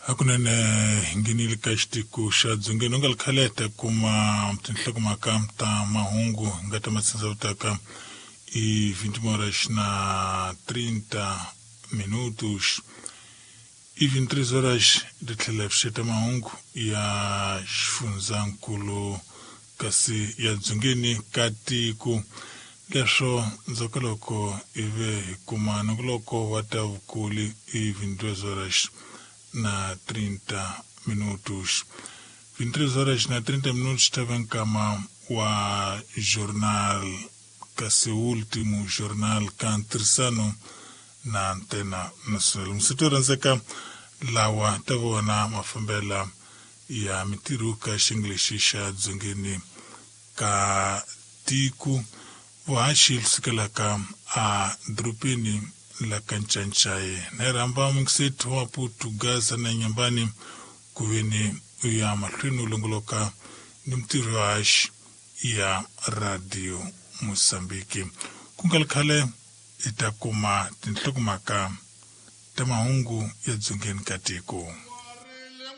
Hakunene hi nghenile ka xitiko xa dzongeni u nga li khale ta kuma tinhlokomhaka ta mahungu hi nga ta matsindza i 21 horas na 30 minutos i 23 horas ri tlhela pfuxeta mahungu ya xifundzankulu kasi ya dzongeni ka tiko. Leswo ndzhaku loko hi ve hi kuma nongoloko wa ta vukuli i 22 horas na 30 minutos. 23 horas na 30 minutos ta ve nkama wa jornal kasi último jornal ka ntirhisano na Antena Nacional. Musito rhandzeka lawa ta vona mafambela ya mintirho ka xinglexi xa dzongeni ka tiko vuhaxi lusukelaka a dorobeni la ka Ncancaye na rhamba mungisethi wa Maputo Gaza na Nyambani ku veni u ya mahlweni u longoloka ni mintirho yo haxi ya Radio Mozambique. Ku nga ri khale hi ta kuma tinhlokomhaka ta mahungu ya dzongeni ka tiko.